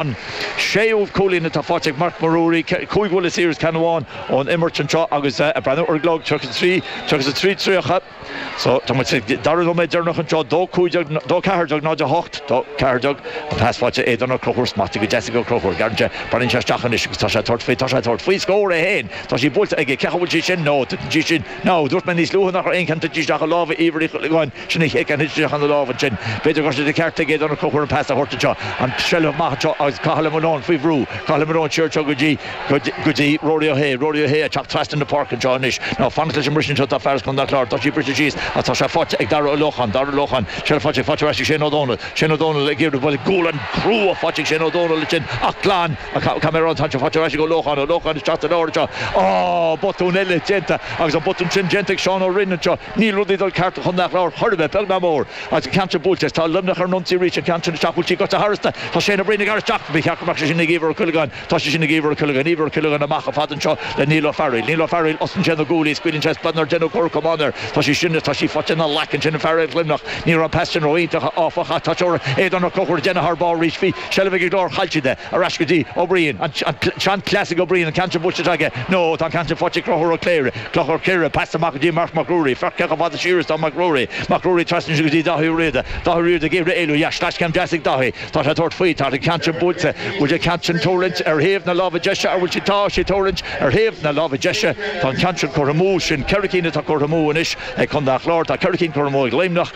An séú cúilín atá faighte ag Marc Mac Ruairí, 5 bhuille saor is ceann amháin ón imirt anseo agus ag breathnú ar an gclog, 33, 33 30. So tá muid sa dara nóiméad deireanach anseo, 2 15, 2 14 0 8, 2 14, an pas faighte Aodán Ó Conchúir, smachtaithe go deas ag Ó Conchúir. Gearrann sé, breathnaíonn sé isteach anois agus tá sé ag tabhairt faoi, tá sé ag tabhairt faoi scór é féin. Tá sí buailte aige, cé chaoi bhfuil sí sin? No, titeann sí sin. No, dúirt mé níos luaithe nach raibh aon cheann tite isteach i lámha Íomhair Uí Chuileagáin. Sin an chéad cheann thit isteach ina lámh ansin. B'fhéidir go raibh sé de cheart ag Aodán Ó Conchúir an pas a thabhairt anseo. An tseilbh amach anseo agus Cathal Ó Maoileoin faoi bhrú. Cathal Ó Maoileoin siar anseo go dtí, go dtí Rory Ó hAodha. Rory Ó hAodha ag teacht trasna na páirce anseo anois. Ná fanacht leis an mbriseadh anseo tá fear as Contae an Chláir. Tá sí briste síos ach tá sé faighte ag Dara Ó Lócháin. Dara Ó Lócháin. Seilbh faighte, faighte ar ais ag Shane Ó Dónaill. Shane Ó Dónaill ag iarraidh bualadh gualainn chrua faighte ag Shane Ó Dónaill ansin ach glan. Caithfidh mé a rá tá sé faighte ar ais ag Ó Lócháin. Ó Lócháin isteach sa lár anseo. Á! Botún eile déanta agus an botún sin déanta ag Seán Ó Rinn anseo. Níl rudaí ag dul ceart do Chontae an Chláir chor ar bith, beag ná mór. Agus an ceann sin buailte is tá Luimneach ar an ionsaí arís, an ceann sin isteach, bhfuil sí gaibhte tharasta? Tá Shane Ó Briain ag gearradh isteach, ba cheart go mbeadh sé sin ag Íomhar Ó Cuileagáin. Tá sé sin ag Íomhar Ó Cuileagáin, Íomhar Ó Cuileagáin amach chomh fada anseo le Niall Ó Fearghaíl. Niall Ó Fearghaíl, osclaíonn sé na guaillí, scaoileann sé splanc nár deineadh cor camáin air. Tá sí sin, tá sí faighte ina ghlac ansin an fear ar Luimneach. Ní raibh an pas sin ró-iontach, áfach, ach tá Aodán Ó Conchúir ag déanamh thar barr arís. Bhí seilbh ag an gClár, chaill siad é. Ar ais go dtí Ó Briain, an seanchleas ag Ó Briain, an ceann sin buailte aige. No, tá an ceann sin faighte ag Conchúr Ó Cléire. Conchúr Ó Cléire, pas amach go dtí Marc Mac Ruairí. Féach cé chomh fada siar is atá Mac Ruairí. Mac Ruairí trasna go dtí Daithí Ó Riada. Daithí Ó Riada ag iarraidh éalú. Yeah, sleaschéim deas ag Daithí. Tá sé ag tabhairt faoi. Tá an ceann sin buailte. Bhfuil an ceann sin tuirlingt ar thaobh na láimhe deise ar bhfuil sí? Tá sí tuirlingt ar thaobh na láimhe deise. Tá an ceann sin curtha amú. Sin 4 cinn atá curtha amú anois ag Contae an Chláir. Tá 4 cinn curtha amú ag Luimneach.